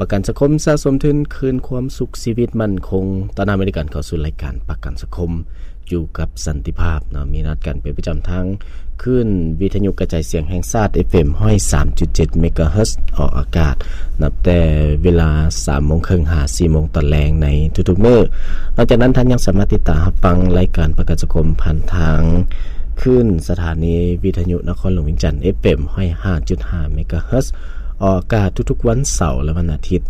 ປະກັນສັງຄົມສະສົມທຶນ ຄືນຄວາມສຸກຊີວິດໝັ້ນຄົງ. ຕອນຮັບຍິນດີຕ້ອນຮັບເຂົ້າສູ່ລາຍການປະກັນສັງຄົມ ຢູ່ກັບສັນຕິພາບເນາະ, ມີນັດກັນເປັນປະຈຳທາງຄື້ນວິທະຍຸກະຈາຍສຽງແຫ່ງຊາດ ເອັຟເອັມ ຮ້ອຍສາມຈຸດເຈັດ ເມກາເຮີດ ອອກອາກາດນັບແຕ່ເວລາສາມໂມງເຄິ່ງຫາສີ່ໂມງຕອນແລງໃນທຸກໆມື້. ນອກຈາກນັ້ນ, ທ່ານຍັງສາມາດຕິດຕາມຮັບຟັງລາຍການປະກັນສັງຄົມຜ່ານທາງຄື້ນສະຖານີວິທະຍຸນະຄອນຫຼວງວຽງຈັນ ເອັຟເອັມ ຮ້ອຍຫ້າຈຸດຫ້າ ເມກາເຮີດ ອອກອາກາດທຸກໆວັນເສົາ ແລະ ວັນອາທິດ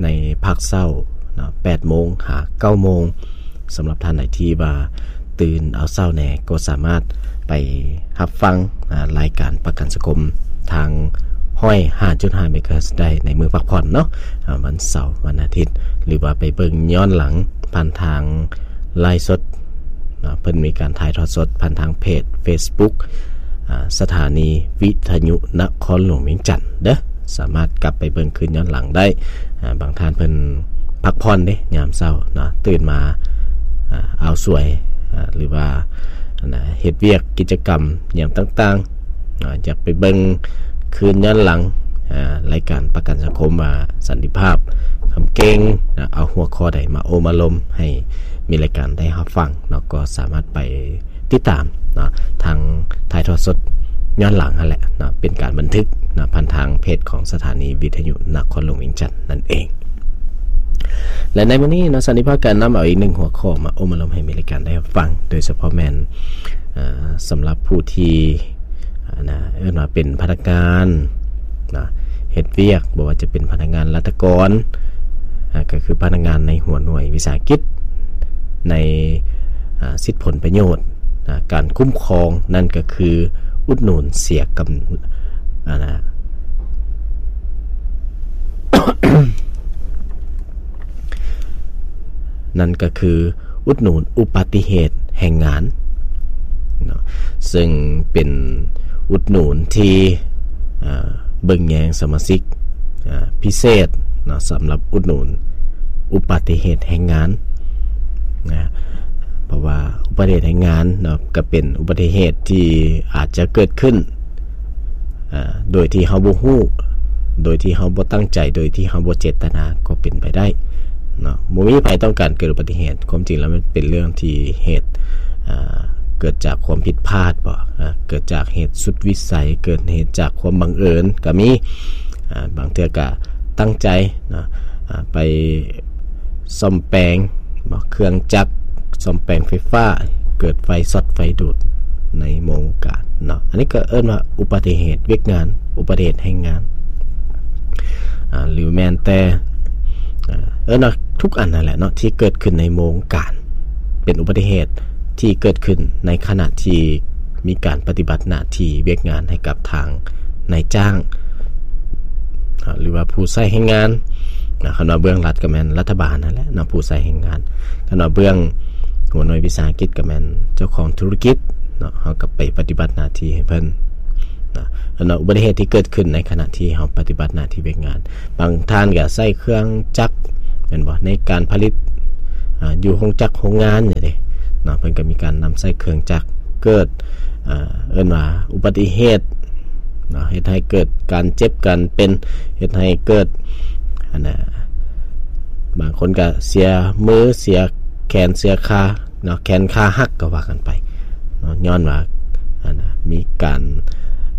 ໃນພາກເຊົ້າເນາະ ແປດໂມງຫາເກົ້າໂມງ. ສຳລັບທ່ານໃດທີ່ວ່າຕື່ນເອົາເຊົ້າແດ່ ກໍສາມາດໄປຮັບຟັງ ອາ ລາຍການປະກັນສັງຄົມທາງ ຮ້ອຍຫ້າຈຸດຫ້າ ເມກາເຮີດ ໄດ້ໃນມື້ພັກຜ່ອນເນາະ ອາ ວັນເສົາ ວັນອາທິດ ຫຼືວ່າໄປເບິ່ງຍ້ອນຫຼັງຜ່ານທາງໄລຟ໌ສົດເນາະ. ເພິ່ນມີການຖ່າຍທອດສົດຜ່ານທາງເພຈເຟສບຸກ ອາ ສະຖານີວິທະຍຸນະຄອນຫຼວງວຽງຈັນເດີ້. ສາມາດກັບໄປເບິ່ງຄືນຍ້ອນຫຼັງໄດ້. ອາ ບາງທ່ານເພິ່ນພັກຜ່ອນເດ້ ຍາມເຊົ້າເນາະ ຕື່ນມາ ອາ ອ່າວສວຍ ອາ ຫຼືວ່າ ອັນນ່າ ເຮັດວຽກກິດຈະກຳຍາມຕ່າງໆເນາະ ຢາກໄປເບິ່ງຄືນຍ້ອນຫຼັງ ອາ ລາຍການປະກັນສັງຄົມວ່າສັນຕິພາບຄຳເກັ່ງ ອາ ເອົາຫົວຂໍ້ໃດມາໂອ້ມາລົມໃຫ້ມີລາຍການໄດ້ຮັບຟັງເນາະ ກໍສາມາດໄປ ຕິດຕາມເນາະ ທາງຖ່າຍທອດສົດຍ້ອນຫຼັງຫັ້ນແຫຼະເນາະ ເປັນການບັນທຶກເນາະ ຜ່ານທາງເພຈຂອງສະຖານີວິທະຍຸນະຄອນຫຼວງວຽງຈັນນັ້ນເອງ. ແລະ ໃນມື້ນີ້ເນາະ ສັນຕິພາບກະນຳເອົາອີກໜຶ່ງຫົວຂໍ້ມາໂອ້ມາລົມໃຫ້ມີລາຍການໄດ້ຮັບຟັງ ໂດຍສະເພາະແມ່ນ ເອີ ສຳລັບຜູ້ທີ່ ອັນນ່າ ເອີ້ນວ່າເປັນພະນັກງານເນາະ ເຮັດວຽກ ບໍ່ວ່າຈະເປັນພະນັກງານລັດຖະກອນ ອາ ກໍຄືພະນັກງານໃນຫົວໜ່ວຍວິສາຫະກິດ ໃນ ອາ ສິດຜົນປະໂຫຍດ ອາ ການຄຸ້ມຄອງ ນັ້ນກໍຄືອຸດໜູນເສຍກຳ ອັນນ່າ ນັ້ນກໍຄື ອຸດໜູນອຸປະຕິເຫດແຮງງານເນາະ ເຊິ່ງເປັນອຸດໜູນທີ່ ເອີ ເບິ່ງແຍງສະມາຊິກ ເອີ ພິເສດເນາະ ສຳລັບອຸດໜູນອຸປະຕິເຫດແຮງງານນະ ເພາະວ່າອຸປະຕິເຫດແຮງງານເນາະ ກໍເປັນອຸປະຕິເຫດທີ່ອາດຈະເກີດຂຶ້ນ ເອີ ໂດຍທີ່ເຮົາບໍ່ຮູ້ ໂດຍທີ່ເຮົາບໍ່ຕັ້ງໃຈ ໂດຍທີ່ເຮົາບໍ່ເຈດຕະນາກໍເປັນໄປໄດ້ເນາະ. ບໍ່ມີໃຜຕ້ອງການເກີດອຸປະຕິເຫດ. ຄວາມຈິງແລ້ວມັນເປັນເລື່ອງທີ່ເຫດ ເອີ ເກີດຈາກຄວາມຜິດພາດບໍ ເອີ ເກີດຈາກເຫດສຸດວິໄສ ເກີດເຫດຈາກຄວາມບັງເອີນກໍມີ. ເອີ ບາງເທື່ອກໍຕັ້ງໃຈເນາະ ເອີ ໄປ ສ້ອມແປງເນາະ ເຄື່ອງຈັກ ສ້ອມແປງໄຟຟ້າ ເກີດໄຟຊັອດໄຟດູດໃນໂມງການເນາະ. ອັນນີ້ກໍເອີ້ນວ່າອຸປະຕິເຫດວຽກງານ ອຸປະຕິເຫດແຮງງານ ອາ ຫຼືແມ່ນແຕ່ ເອີ້ນວ່າທຸກອັນນັ້ນແຫຼະເນາະ ທີ່ເກີດຂຶ້ນໃນໂມງການ ເປັນອຸປະຕິເຫດທີ່ເກີດຂຶ້ນໃນຂະນະທີ່ມີການປະຕິບັດໜ້າທີ່ວຽກງານໃຫ້ກັບທາງ ນາຍຈ້າງ ເນາະ ຫຼືວ່າຜູ້ໃຊ້ແຮງງານເນາະ. ຄັນວ່າເບື້ອງລັດກໍແມ່ນລັດຖະບານນັ້ນແຫຼະເນາະ ຜູ້ໃຊ້ແຮງງານ. ຄັນວ່າເບື້ອງຫົວໜ່ວຍວິສາຫະກິດກໍແມ່ນເຈົ້າຂອງທຸລະກິດເນາະ ເຮົາກໍໄປປະຕິບັດໜ້າທີ່ໃຫ້ເພິ່ນເນາະ. ອັນນັ້ນອຸບັດຕິເຫດທີ່ເກີດຂຶ້ນໃນຂະນະທີ່ເຮົາປະຕິບັດໜ້າທີ່ວຽກງານ ບາງທ່ານກໍໃຊ້ເຄື່ອງຈັກແມ່ນບໍ່ ໃນການຜະລິດ ອາ ຢູ່ໂຮງຈັກໂຮງງານນີ້ເດ້ເນາະ ເພິ່ນກໍມີການນຳໃຊ້ເຄື່ອງຈັກ ເກີດ ເອີ ເອີ້ນວ່າອຸບັດຕິເຫດເນາະ ເຮັດໃຫ້ເກີດການເຈັບການເປັນ ເຮັດໃຫ້ເກີດ ອັນນ່າ ບາງຄົນກໍເສຍມື ເສຍແຂນ ເສຍຂາເນາະ ແຂນຂາຫັກກໍວ່າກັນໄປເນາະ ຍ້ອນວ່າ ອັນນ່າ ມີການ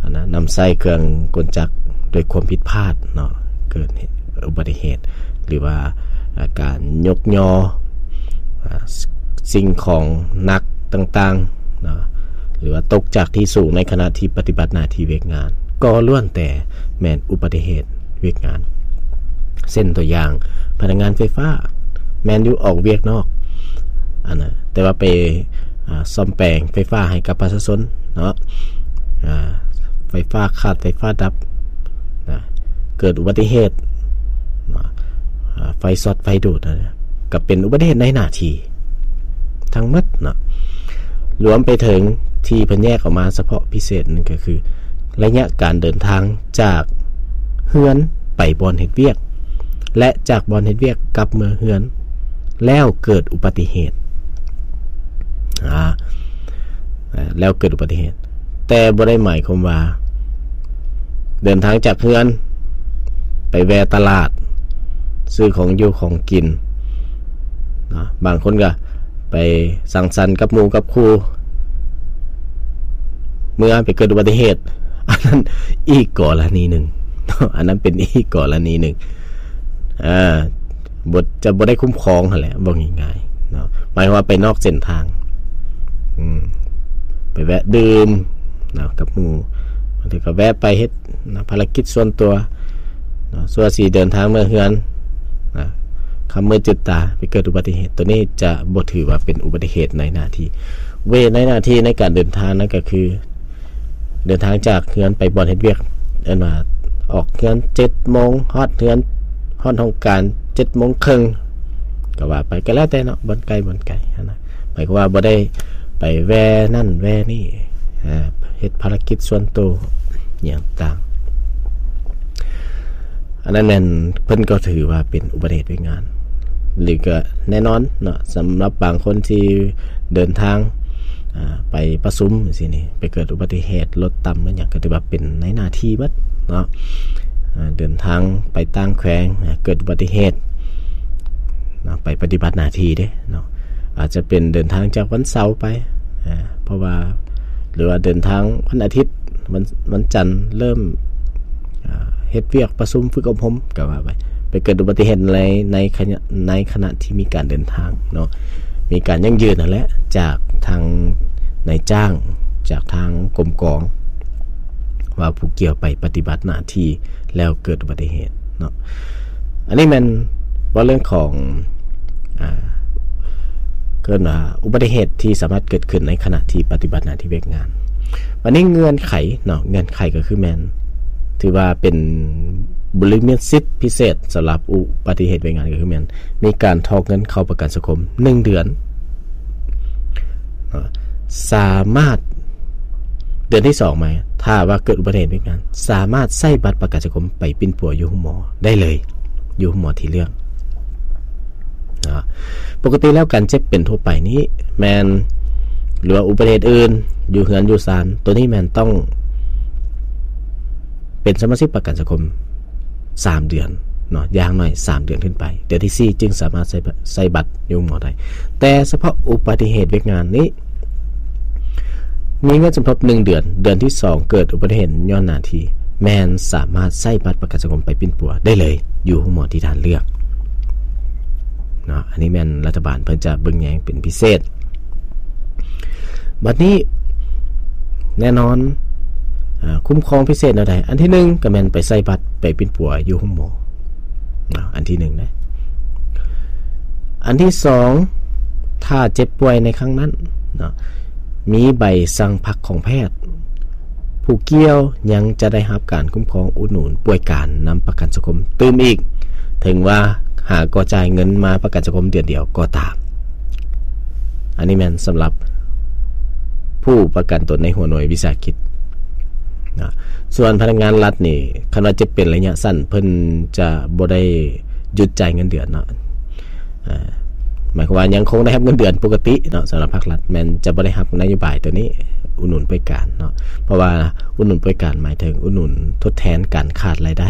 ອັນນ່າ ນຳໃຊ້ເຄື່ອງກົນຈັກໂດຍຄວາມຜິດພາດເນາະ ເກີດອຸບັດຕິເຫດ ຫຼືວ່າ ອາ ການຍົກຍໍ ອາ ສິ່ງຂອງໜັກຕ່າງໆເນາະ ຫຼືວ່າຕົກຈາກທີ່ສູງໃນຂະນະທີ່ປະຕິບັດໜ້າທີ່ວຽກງານ ກໍລ້ວນແຕ່ແມ່ນອຸບັດຕິເຫດວຽກງານ. ເຊັ່ນຕົວຢ່າງ ພະນັກງານໄຟຟ້າ ແມ່ນຢູ່ອອກວຽກນອກ ອັນນ່າ ແຕ່ວ່າໄປ ອາ ສ້ອມແປງໄຟຟ້າໃຫ້ກັບປະຊາຊົນເນາະ ອາ ໄຟຟ້າຂາດ ໄຟຟ້າດັບນະ ເກີດອຸບັດຕິເຫດເນາະ ອາ ໄຟຊັອດໄຟດູດນະ ກໍເປັນອຸບັດຕິເຫດໃນໜ້າທີ່ທັງໝົດເນາະ ລວມໄປເຖິງທີ່ເພິ່ນແຍກອອກມາສະເພາະພິເສດນັ້ນກໍຄື ໄລຍະການເດີນທາງຈາກເຮືອນໄປບ່ອນເຮັດວຽກ ແລະ ຈາກບ່ອນເຮັດວຽກກັບເມືອເຮືອນ ແລ້ວເກີດອຸບັດຕິເຫດ ອາ ແລ້ວເກີດອຸບັດຕິເຫດ ແຕ່ບໍ່ໄດ້ໝາຍຄວາມວ່າ ເດີນທາງຈາກເຮືອນໄປແວ່ຕະຫຼາດ ຊື້ຂອງຢູ່ຂອງກິນເນາະ, ບາງຄົນກໍໄປສັງສັນກັບໝູ່ກັບຄູ່ ເມື່ອໄປເກີດອຸບັດຕິເຫດ ອັນນັ້ນອີກກໍລະນີໜຶ່ງເນາະ, ອັນນັ້ນເປັນອີກກໍລະນີໜຶ່ງ ເອີ ບໍ່ ຈະບໍ່ໄດ້ຄຸ້ມຄອງຫັ້ນແຫຼະ ເວົ້າງ່າຍໆເນາະ, ໝາຍຄວາມວ່າໄປນອກເສັ້ນທາງ ອືມ ໄປແວະດື່ມເນາະກັບໝູ່, ບາງເທື່ອກໍແວະໄປເຮັດ ນະ ພາລະກິດສ່ວນຕົວເນາະ, ສ່ວນຊິເດີນທາງເມືອເຮືອນນະ ຄ່ຳມືດຈືດຕາໄປເກີດອຸບັດຕິເຫດ, ໂຕນີ້ຈະບໍ່ຖືວ່າເປັນອຸບັດຕິເຫດໃນໜ້າທີ່. ອຸບັດຕິເຫດໃນໜ້າທີ່ໃນການເດີນທາງນັ້ນກໍຄື ເດີນທາງຈາກເຮືອນໄປບ່ອນເຮັດວຽກ, ເອີ້ນວ່າອອກເຮືອນເຈັດໂມງ, ຮອດເຮືອນ ຮອດຫ້ອງການເຈັດໂມງເຄິ່ງ ກໍວ່າໄປ, ກໍແລ້ວແຕ່ເນາະ, ບ່ອນໃກ້ ບ່ອນໄກຫັ້ນນະ. ໝາຍຄວາມວ່າບໍ່ໄດ້ໄປແວ່ນັ້ນແວ່ນີ້ ເຮັດພາລະກິດສ່ວນໂຕຫຍັງຕ່າງ, ອັນນັ້ນແມ່ນເພິ່ນກໍຖືວ່າເປັນອຸບັດຕິເຫດວຽກງານ. ຫຼືກໍແນ່ນອນເນາະ, ສຳລັບບາງຄົນທີ່ເດີນທາງ ອາ ໄປປະຊຸມຈັ່ງຊີ້ນີ້ ໄປເກີດອຸບັດຕິເຫດລົດຕຳ ແມ່ນຫຍັງ ກໍຖືວ່າເປັນໃນໜ້າທີ່ເບິດເນາະ. ອາ ເດີນທາງໄປຕ່າງແຂວງ ອາ ເກີດອຸບັດຕິເຫດເນາະ ໄປປະຕິບັດໜ້າທີ່ເດ້ເນາະ, ອາດຈະເປັນເດີນທາງຈາກວັນເສົາໄປ ອາ ເພາະວ່າ ຫຼືວ່າເດີນທາງວັນອາທິດ ວັນ ວັນຈັນເລີ່ມ ອາ ເຮັດວຽກປະຊຸມຝຶກອົບຮົມກໍວ່າໄປ, ໄປເກີດອຸບັດຕິເຫດໃນ ໃນຂະນະ ໃນຂະນະທີ່ມີການເດີນທາງເນາະ, ມີການຢັ້ງຢືນຫັ້ນແຫຼະ ຈາກທາງນາຍຈ້າງ ຈາກທາງກົມກອງ ວ່າຜູ້ກ່ຽວໄປປະຕິບັດໜ້າທີ່ແລ້ວເກີດອຸບັດຕິເຫດເນາະ. ອັນນີ້ແມ່ນເວົ້າເລື່ອງຂອງ ອາ ເອີ້ນວ່າອຸບັດຕິເຫດທີ່ສາມາດເກີດຂຶ້ນໃນຂະນະທີ່ປະຕິບັດໜ້າທີ່ວຽກງານ. ບັດນີ້ເງື່ອນໄຂເນາະ, ເງື່ອນໄຂກໍຄືແມ່ນ ຖືວ່າເປັນບຸລິມະສິດພິເສດສຳລັບອຸບັດຕິເຫດວຽກງານ ກໍຄືແມ່ນມີການຖອກເງິນເຂົ້າປະກັນສັງຄົມໜຶ່ງເດືອນ ເນາະ, ສາມາດ ເດືອນທີສອງມາ ຖ້າວ່າເກີດອຸບັດຕິເຫດວຽກງານ ສາມາດໃຊ້ບັດປະກັນສັງຄົມໄປປິ່ນປົວຢູ່ໂຮງໝໍໄດ້ເລີຍ ຢູ່ໂຮງໝໍທີ່ເລືອກເນາະ. ປົກກະຕິແລ້ວການເຈັບເປັນທົ່ວໄປນີ້ແມ່ນ ຫຼືວ່າອຸບັດຕິເຫດອື່ນ ຢູ່ເຮືອນຢູ່ຊານ ໂຕນີ້ແມ່ນຕ້ອງເປັນສະມາຊິກປະກັນສັງຄົມ ສາມເດືອນເນາະ, ຢ່າງໜ້ອຍສາມເດືອນຂຶ້ນໄປ, ເດືອນທີສີ່ຈຶ່ງສາມາດໃຊ້ ໃຊ້ບັດຢູ່ໂຮງໝໍໄດ້. ແຕ່ສະເພາະອຸບັດຕິເຫດວຽກງານນີ້ ມີເງິນສົມທົບໜຶ່ງເດືອນ, ເດືອນທີສອງເກີດອຸບັດຕິເຫດຍ້ອນໜ້າທີ່ ແມ່ນສາມາດໃຊ້ບັດປະກັນສັງຄົມໄປປິ່ນປົວໄດ້ເລີຍ ຢູ່ໂຮງໝໍທີ່ທ່ານເລືອກເນາະ. ອັນນີ້ແມ່ນລັດຖະບານເພິ່ນຈະເບິ່ງແຍງເປັນພິເສດ. ບັດນີ້ແນ່ນອນ ອາ ຄຸ້ມຄອງພິເສດແນວໃດ? ອັນທີໜຶ່ງກໍແມ່ນໄປໃຊ້ບັດໄປປິ່ນປົວຢູ່ໂຮງໝໍເນາະ, ອັນທີໜຶ່ງນະ. ອັນທີສອງ ຖ້າເຈັບປ່ວຍໃນຄັ້ງນັ້ນເນາະ ມີໃບສັ່ງພັກຂອງແພດ, ຜູ້ກ່ຽວຍັງຈະໄດ້ຮັບການຄຸ້ມຄອງອຸດໜູນປ່ວຍການນຳປະກັນສັງຄົມຕື່ມອີກ, ເຖິງວ່າຫາກໍຈ່າຍເງິນມາປະກັນສັງຄົມເດືອນດຽວກໍຕາມ. ອັນນີ້ແມ່ນສຳລັບຜູ້ປະກັນຕົນໃນຫົວໜ່ວຍວິສາຫະກິດນະ. ສ່ວນພະນັກງານລັດນີ້ ຄັນວ່າເຈັບເປັນໄລຍະສັ້ນ ເພິ່ນຈະບໍ່ໄດ້ຢຸດຈ່າຍເງິນເດືອນເນາະ. ອາ ໝາຍຄວາມວ່າຍັງຄົງໄດ້ຮັບເງິນເດືອນປົກກະຕິເນາະ, ສຳລັບພາກລັດແມ່ນຈະບໍ່ໄດ້ຮັບນະໂຍບາຍໂຕນີ້ ອຸດໜູນປ່ວຍການເນາະ, ເພາະວ່າອຸດໜູນປ່ວຍການໝາຍເຖິງອຸດໜູນທົດແທນການຂາດລາຍໄດ້.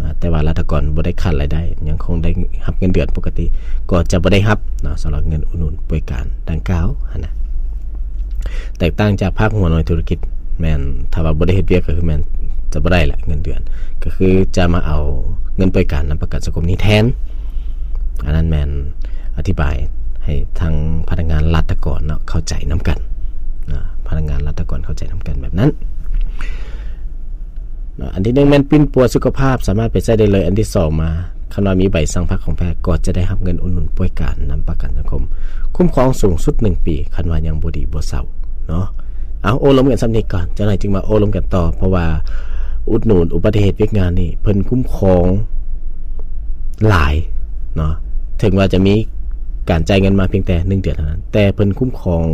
ອາ ແຕ່ວ່າລັດຖະກອນບໍ່ໄດ້ຂາດລາຍໄດ້, ຍັງຄົງໄດ້ຮັບເງິນເດືອນປົກກະຕິ, ກໍຈະບໍ່ໄດ້ຮັບເນາະ ສຳລັບເງິນອຸດໜູນປ່ວຍການດັ່ງກ່າວຫັ້ນນະ. ແຕກຕ່າງຈາກພາກຫົວໜ່ວຍທຸລະກິດ ແມ່ນ ຖ້າວ່າບໍ່ໄດ້ເຮັດວຽກກໍຄືແມ່ນຈະບໍ່ໄດ້ລະເງິນເດືອນ, ກໍຄືຈະມາເອົາເງິນປ່ວຍການນຳປະກັນສັງຄົມນີ້ແທນ. ອັນນັ້ນແມ່ນອະທິບາຍໃຫ້ທາງພະນັກງານລັດຖະກອນເນາະ ເຂົ້າໃຈນຳກັນນະ, ພະນັກງານລັດຖະກອນເຂົ້າໃຈນຳກັນແບບນັ້ນ. ເນາະ ອັນທີໜຶ່ງແມ່ນປິ່ນປົວສຸຂະພາບ ສາມາດໄປໃຊ້ໄດ້ເລີຍ. ອັນທີສອງມາ ຄັນວ່າມີໃບສັ່ງພັກຂອງແພດ ກໍຈະໄດ້ຮັບເງິນອຸດໜູນປ່ວຍການນຳປະກັນສັງຄົມ, ຄຸ້ມຄອງສູງສຸດໜຶ່ງປີ ຄັນວ່າຍັງບໍ່ດີບໍ່ເຊົາເນາະ. ເອົາ ໂອ້ລົມກັນສ່ຳນີ້ກ່ອນ, ຈັກໜ້ອຍຈຶ່ງມາໂອ້ລົມກັນຕໍ່, ເພາະວ່າອຸດໜູນອຸບັດຕິເຫດວຽກງານນີ້ ເພິ່ນຄຸ້ມຄອງຫຼາຍເນາະ, ເຖິງວ່າຈະມີການຈ່າຍເງິນມາພຽງແຕ່ໜຶ່ງເດືອນເທົ່ານັ້ນ ແຕ່ເພິ່ນຄຸ້ມຄອງ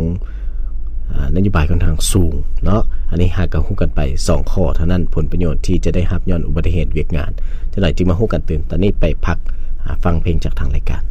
ອາ ນະໂຍບາຍຂ້ອນຂ້າງສູງເນາະ. ອັນນີ້ຫາກະຮູ້ກັນໄປສອງຂໍ້ເທົ່ານັ້ນ, ຜົນປະໂຫຍດທີ່ຈະໄດ້ຮັບຍ້ອນອຸບັດຕິເຫດວຽກງານ. ຈັກໜ້ອຍຈຶ່ງມາຮູ້ກັນຕື່ມ. ຕອນນີ້ໄປພັກ ອາ ຟັງເພງຈາກທາງລາຍການ.